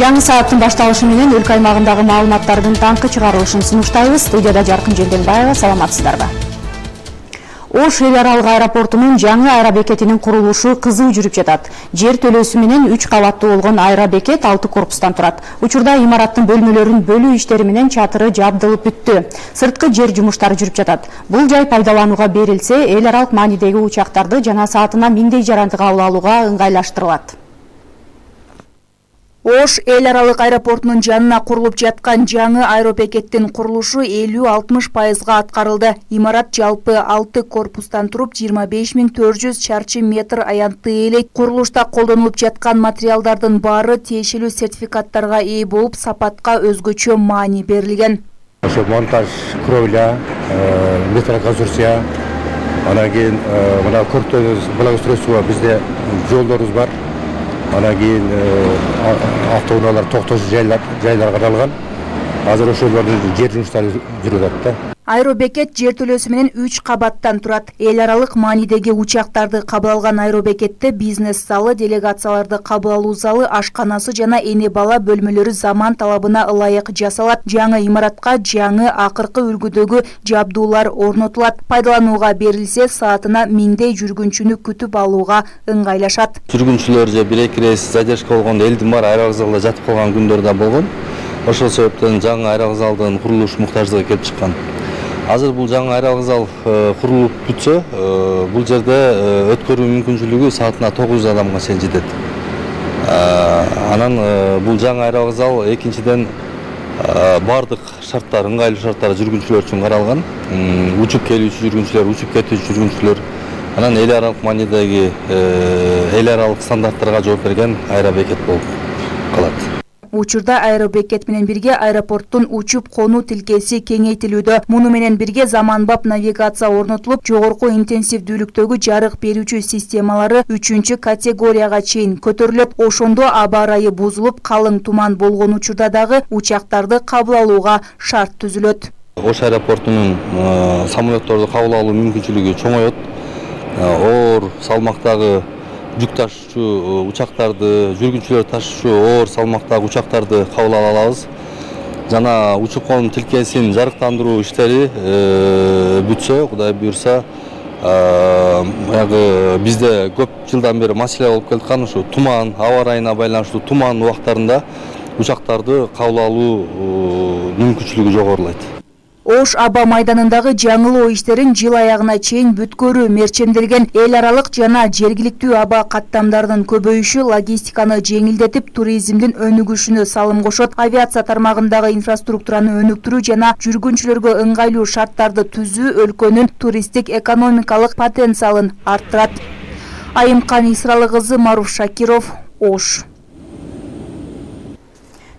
Жаңы сааттын башталышы менен өлкө аймагындагы маалыматтардын таңкы чыгарылышын сунуштайбыз. Студияда Жаркын Женденбаева, саламатсыздарбы? Ош эл аралык аэропортунун жаңы аэробекетинин курулушу кызуу жүрүп жатат. Жер төлөөсү менен 3 кабаттуу болгон аэробекет 6 корпустан турат. Учурда имараттын бөлмөлөрүн бөлүү иштери менен чатыры жабдылып бүттү. Сырткы жер жумуштары жүрүп жатат. Бул жай пайдаланууга берилсе, эл аралык маанидеги учактарды жана саатына 1000 жаранды кабыл алууга ыңгайлаштырылат. Ош эл аралык аэропортунун жанына курулуп жаткан жаңы аэробекеттин курулушу 50-60% аткарылды. Имарат жалпы 6 корпустан туруп 25400 чарчы метр аянтты ээлейт. Курулушта колдонулуп жаткан материалдардын баары тиешелүү сертификаттарга ээ болуп, сапатка өзгөчө маани берилген. Ошо монтаж, кровля, металлоконструкция, анан кийин мына көрдүңүз благоустройство бизде жолдорубуз бар. Анан кийин автоунаалар токтош жайларга аралган. Азыр ошолордун жер жумуштары жүрүп атат да. Аэробекет жер төлөөсү менен 3 кабаттан турат. Эл аралык маанидеги учактарды кабыл алган аэробекетте бизнес залы, делегацияларды кабыл алуу залы, ашканасы жана эне бала бөлмөлөрү заман талабына ылайык жасалат. Жаңы имаратка жаңы акыркы үлгүдөгү жабдуулар орнотулат. Пайдаланууга берилсе, саатына 1000 жүргүнчүнү күтүп алууга ыңгайлашат. Жүргүнчүлөр же 1-2 рейс задержка болгондо элдин баары аэровокзалда жатып калган күндөр да болгон. Ошол себептен жаңы аэровокзалдын курулуш муктаждыгы келип чыккан. Азыр бул жаңы аэровокзал курулуп бүтсө, бул жерде өткөрүү мүмкүнчүлүгү саатына 900 адамга чейин жетет. Анан бул жаңы аэровокзал экинчиден бардык шарттар, ыңгайлуу шарттар жүргүнчүлөр үчүн каралган. Учуп келүүчү жүргүнчүлөр, учуп кетүүчү жүргүнчүлөр, анан эл аралык маанидеги эл аралык стандарттарга жооп берген аэробекет болуп калат. Учурда аэробекет менен бирге аэропорттун учуп конуу тилкеси кеңейтилүүдө. Муну менен бирге заманбап навигация орнотулуп, жогорку интенсивдүүлүктөгү жарык берүүчү системалары 3-категорияга чейин көтөрүлөт. Ошондо аба ырайы бузулуп, калың туман болгон учурда дагы учактарды кабыл алууга шарт түзүлөт. Ош аэропортунун самолетторду кабыл алуу мүмкүнчүлүгү чоңоет. Оор салмактагы жүк ташуучу учактарды, жүргүнчүлөр ташуучу оор салмактагы учактарды кабыл ала алабыз. Жана учуп конуу тилкесин жарыктандыруу иштери бүтсө, Кудай буйрса, бизде көп жылдан бери маселе болуп келаткан ушу туман, аба ырайына байланыштуу туман убактарында учактарды кабыл алуу мүмкүнчүлүгү жогорулайт. Ош аба майданындагы жаңылоо иштерин жыл аягына чейин бүткөрүү мерчемделген. Эл аралык жана жергиликтүү аба каттамдарынын көбөйүшү логистиканы жеңилдетип, туризмдин өнүгүшүнө салым кошот. Авиация тармагындагы инфраструктураны өнүктүрүү жана жүргүнчүлөргө ыңгайлуу шарттарды түзүү өлкөнүн туристтик экономикалык потенциалын арттырат. Айымкан Исралы кызы, Маруф Шакиров, Ош.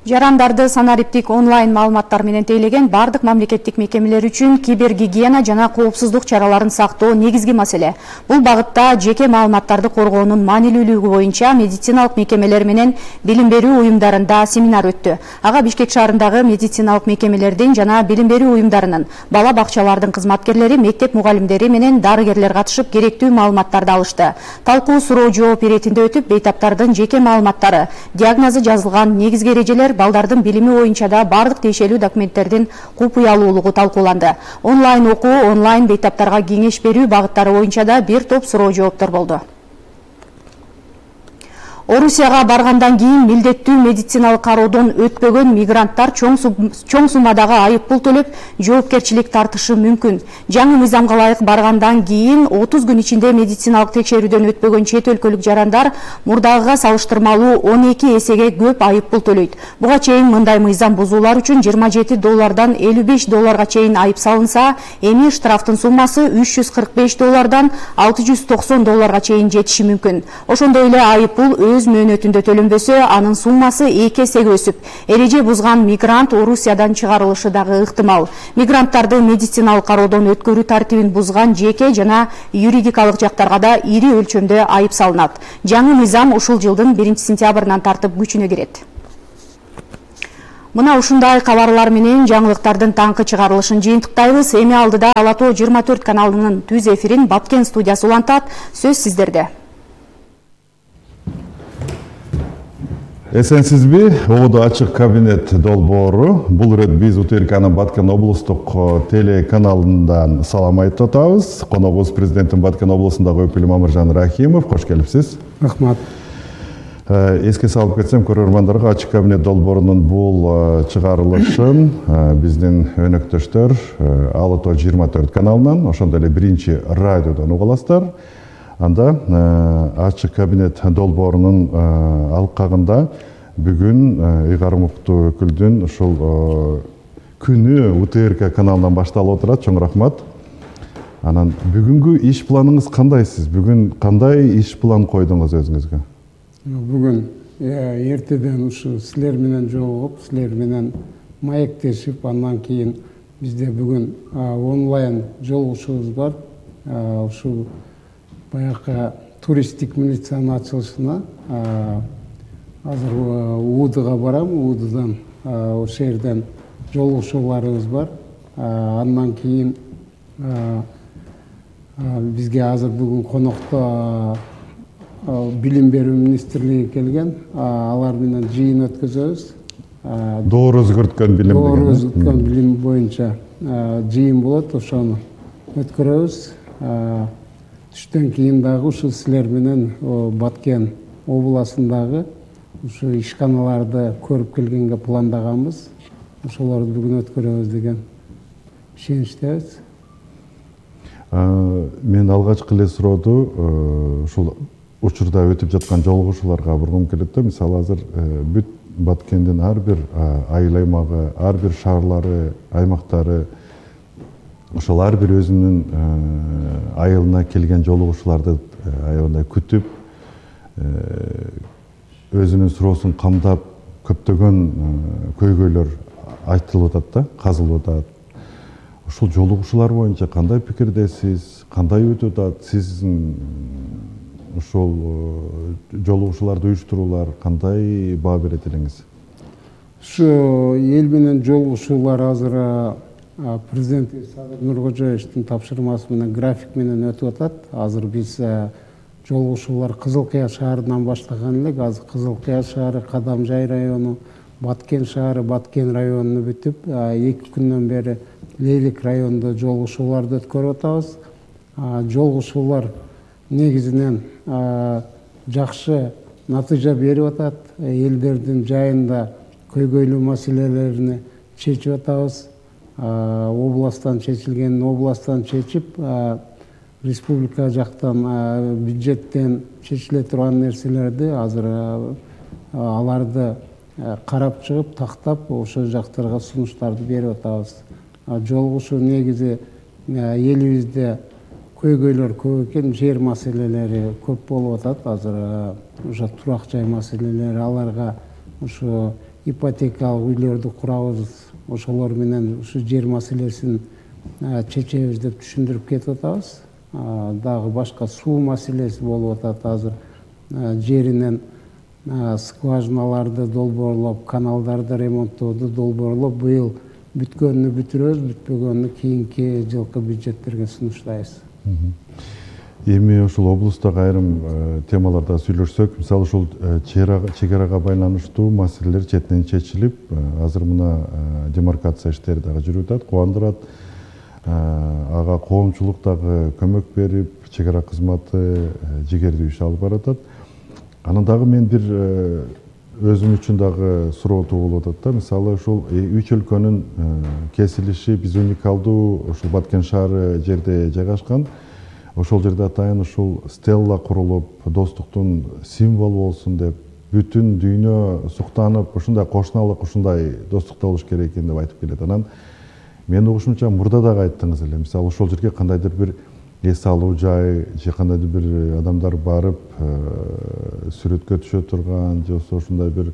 Жарандарды санариптик онлайн маалыматтар менен тейлеген бардык мамлекеттик мекемелер үчүн кибергигиена жана коопсуздук чараларын сактоо негизги маселе. Бул багытта жеке маалыматтарды коргоонун маанилүүлүгү боюнча медициналык мекемелер менен билим берүү уюмдарында семинар өттү. Ага Бишкек шаарындагы медициналык мекемелердин жана билим берүү уюмдарынын, бала бакчалардын кызматкерлери, мектеп мугалимдери менен дарыгерлер катышып керектүү маалыматтарды алышты. Талкуу суроо жооп иретинде өтүп, бейтаптардын жеке маалыматтары, диагнозу жазылган негизги эрежелер, балдардын билими боюнча да бардык тиешелүү документтердин купуялуулугу талкууланды. Онлайн окуу, онлайн бейтаптарга кеңеш берүү багыттары боюнча да бир топ суроо жооптор болду. Орусияга баргандан кийин милдеттүү медициналык кароодон өтпөгөн мигранттар чоң суммадагы айыппул төлөп, жоопкерчилик тартышы мүмкүн. Жаңы мыйзамга ылайык баргандан кийин 30 күн ичинде медициналык текшерүүдөн өтпөгөн чет өлкөлүк жарандар мурдагыга салыштырмалуу 12 эсеге көп айыппул төлөйт. Буга чейин мындай мыйзам бузуулар үчүн $27 $55 чейин айып салынса, эми штрафтын суммасы $345 $690 чейин жетиши мүмкүн. Ошондой эле айыппул өз мөөнөтүндө төлөнбөсө, анын суммасы 2 эсеге өсүп, эреже бузган мигрант Орусиядан чыгарылышы дагы ыктымал. Мигранттарды медициналык кароодон өткөрүү тартибин бузган жеке жана юридикалык жактарга да ири өлчөмдө айып салынат. Жаңы мыйзам ушул жылдын 1-сентябрынан тартып күчүнө кирет. Мына ушундай кабарлар менен жаңылыктардын таңкы чыгарылышын жыйынтыктайбыз. Эми алдыда Ала Тоо 24 каналынын түз эфирин Баткен студиясы улантат. Сөз сиздерде. Эсенсизби? Оодо ачык кабинет долбоору. Бул ирет биз УТРКнын Баткен облустук телеканалынан салам айтып атабыз. Коногубуз президенттин Баткен облусундагы өкүлү Мамыржан Рахимов. Кош келипсиз. Рахмат. Эске салып кетсем, көрөрмандарга ачык кабинет долбоорунун бул чыгарылышын биздин өнөктөштөр Алы Тоо 24 каналынан, ошондой эле биринчи радиодон уга аласыздар. Анда ачык кабинет долбоорунун алкагында бүгүн ыйгарым уктуу өкүлдүн ушул күнү УТРК каналынан башталып отурат. Чоң рахмат. Анан бүгүнкү иш планыңыз кандай сиз? Бүгүн кандай иш план койдуңуз өзүңүзгө? Бүгүн эртеден ушу силер менен жолугуп, силер менен маектешип, андан кийин бизде бүгүн онлайн жолугушуубуз бар. Ушул баягы туристтик милициянын ачылышына азыр УУДга барам. УУДдан ошол жерден жолугушууларыбыз бар. Андан кийин бизге азыр бүгүн конокто Билим берүү министрлиги келген. Алар менен жыйын өткөзөбүз. Доор өзгөрткөн билим деген. Доор өзгөрткөн билим боюнча жыйын болот. Ошону өткөрөбүз. Түштөн кийин дагы ушу силер менен Баткен областындагы ушу ишканаларды көрүп келгенге пландаганбыз. Ошолорду бүгүн өткөрөбүз деген ишеничтебиз. Мен алгачкы эле сурооду ушул учурда өтүп жаткан жолугушууларга бургум келет да. Мисалы азыр бүт Баткендин ар бир айыл аймагы, ар бир шаарлары, аймактары ошол ар бир өзүнүн айылына келген жолугушууларды аябагандай күтүп, өзүнүн суроосун камдап, көптөгөн көйгөйлөр айтылып атат да, казылып атат. Ушул жолугушуулар боюнча кандай пикирдесиз, кандай өтүп атат? Сиздин ушул жолугушууларды уюштуруулар кандай баа берет элеңиз? Ушу эл менен жолугушуулар азыр президент Садыр Нуркожоевичтин тапшырмасы менен график менен өтүп атат. Азыр биз жолугушуулар Кызыл Кыя шаарынан баштаган элек. Азыр Кызыл Кыя шаары, Кадамжай району, Баткен шаары, Баткен районуну бүтүп, 2 күндөн бери Лейлик районунда жолугушууларды өткөрүп атабыз. Жолугушуулар негизинен жакшы натыйжа берип атат. Элдердин жайында көйгөйлүү маселелерин чечип атабыз. Областтан чечилген, областтан чечип, республика жактан бюджеттен чечиле турган нерселерди азыр аларды карап чыгып, тактап, ошол жактарга сунуштарды берип атабыз. Жолугушуу негизи элибизде көйгөйлөр көп экен, жер маселелери көп болуп атат. Азыр ошо турак жай маселелери, аларга ушу ипотекалык үйлөрдү курабыз, ошолор менен ушу жер маселесин чечебиз деп түшүндүрүп кетип атабыз. Дагы башка суу маселеси болуп атат. Азыр жеринен скважиналарды долбоорлоп, каналдарды ремонттооду долбоорлоп, быйыл бүткөнүнү бүтүрөбүз, бүтпөгөнүнү кийинки жылкы бюджеттерге сунуштайбыз. Эми ушул облустагы айрым темаларда сүйлөшсөк, мисалы ушул чегарага байланыштуу маселелер четинен чечилип, азыр мына демаркация иштери дагы жүрүп атат, кубандырат. Ага коомчулук дагы көмөк берип, чегара кызматы жигердүү иш алып баратат. Анан дагы мен бир өзүм үчүн дагы суроо туулуп атат да. Мисалы ушул 3 өлкөнүн кесилиши биз уникалдуу ушул Баткен шаары жерде жайгашкан. Ошол жерде атайын ушул стелла курулуп, достуктун символу болсун деп, бүтүн дүйнө суктанып, ушундай кошуналык, ушундай достукта болуш керек экен деп айтып келет. Анан мен угушумча мурда дагы айттыңыз эле. Мисалы ошол жерге кандайдыр бир эс алуу жай, же кандайдыр бир адамдар барып сүрөткө түшө турган, же ошондой бир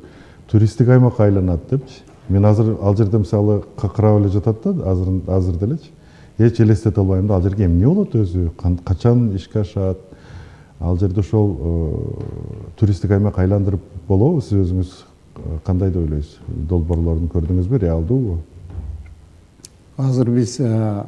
туристтик аймакка айланат депчи. Мен азыр ал жерде мисалы какырап эле жатат да, азыр делечи. Эч элестете албайм да, ал жерге эмне болот өзү, качан ишке ашат. Ал жерде ошол туристтик аймак айландырып болобу? Сиз өзүңүз кандай деп ойлойсуз? Долбоорлорун көрдүңүзбү, реалдуубу? Азыр биз чегара